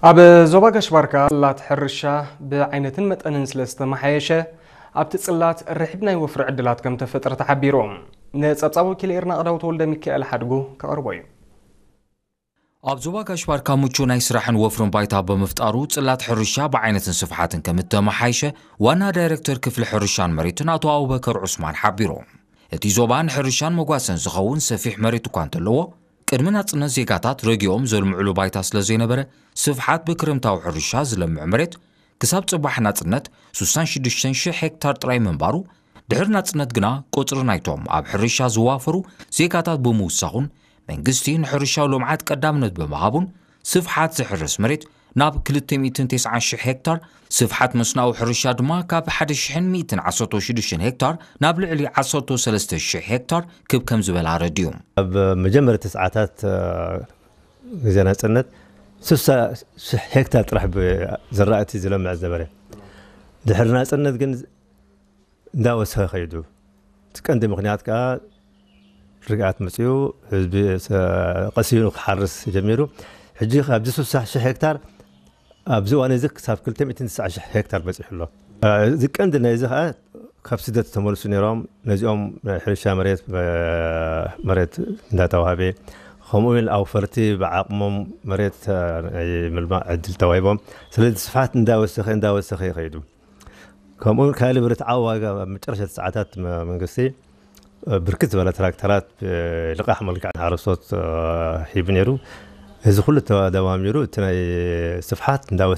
ኣብ ዞባ ጋሽ ባርካ ጽላት ሕርሻ ብዓይነትን መጠንን ስለ ዝተመሓየሸ፣ ኣብቲ ጽላት ርሒብ ናይ ወፍሪ ዕድላት ከም ተፈጥረ ተሓቢሩ። ንጸብጻብ ወኪል ኤርና ቅዳው ተወልደ ሚካኤል ሓድጉ ከቕርቦ እዩ። ኣብ ዞባ ጋሽ ባርካ ምቹ ናይ ስራሕን ወፍርን ባይታ ብምፍጣሩ፣ ጽላት ሕርሻ ብዓይነትን ስፍሓትን ከም እተመሓየሸ ዋና ዳይሬክተር ክፍሊ ሕርሻን መሬትን ኣቶ ኣቡበከር ዑስማን ሓቢሩ። እቲ ዞባ ንሕርሻን መጓሰን ዝኸውን ሰፊሕ መሬት እኳ እንተለዎ፣ ቅድሚ ናጽነት ዜጋታት ረጊኦም ዘልምዕሉ ባይታ ስለ ዘይነበረ፣ ስፍሓት ብክረምታዊ ሕርሻ ዝለምዕ መሬት ክሳብ ጽባሕ ናጽነት ስሳን ሽዱሽተን ሽሕ ሄክታር ጥራይ ምንባሩ፣ ድሕሪ ናጽነት ግና ቁጽሪ ናይቶም ኣብ ሕርሻ ዝዋፈሩ ዜጋታት ብምውሳኹን፣ መንግስቲ ንሕርሻዊ ልምዓት ቀዳምነት ብምሃቡን፣ ስፍሓት ዝሕረስ መሬት ናብ ክልተ ሚእትን ተስዓን ሽሕ ሄክታር፣ ስፍሓት መስናዊ ሕርሻ ድማ ካብ ሓደ ሽሕን ሚእትን ዓሰርተ ሽዱሽተን ሄክታር ናብ ልዕሊ ዓሰርተ ሰለስተ ሽሕ ሄክታር ክብ ከም ዝበለ ኣረዲኡ። ኣብ መጀመርያ ሰዓታት፣ እ፣ ግዜ ናጽነት ስሳ ሽሕ ሄክታር ጥራሕ ብ-፣ ዝራእቲ ዝለምዕ ዝነበረ። ድሕሪ ናጽነት ግን እንዳወሰኸ ከይዱ። እቲ ቀንዲ ምኽንያት ከኣ ርግኣት መጺኡ፣ ህዝቢ ሰ-፣ ቀሲኑ ክሓርስ ጀሚሩ። ሕጂ ኣብዚ ስሳ ሽሕ ሄክታር ኣብዚ እዋን እዚ ክሳብ ክልተ ሚእትን ስሳ ሽሕ ሄክታር በጺሑ ኣሎ። እዚ ቀንዲ ናይዚ ከኣ ካብ ስደት ዝተመልሱ ነይሮም፣ ነዚኦም ናይ ሕርሻ መሬት፣ መሬት እንዳተዋህበ፣ ከምኡ እውን ኣውፈርቲ ብዓቕሞም መሬት ናይ ምልማዕ ዕድል ተዋሂቦም። ስለዚ ስፍሓት እንዳወሰኸ፣ እንዳወሰኸ ይኸይዱ። ከምኡ እውን ካልእ ብርትዓዊ ዋጋ ኣብ መጨረሻ ሰዓታት መ-፣ መንግስቲ ብርክት ዝበለ ትራክተራት ብልቃሕ መልክዕ ንሓረስቶት ሂቡ ነይሩ። እዚ ኩሉ ተደማሚሩ እቲ ናይ ስፍሓት እንዳወሰኸ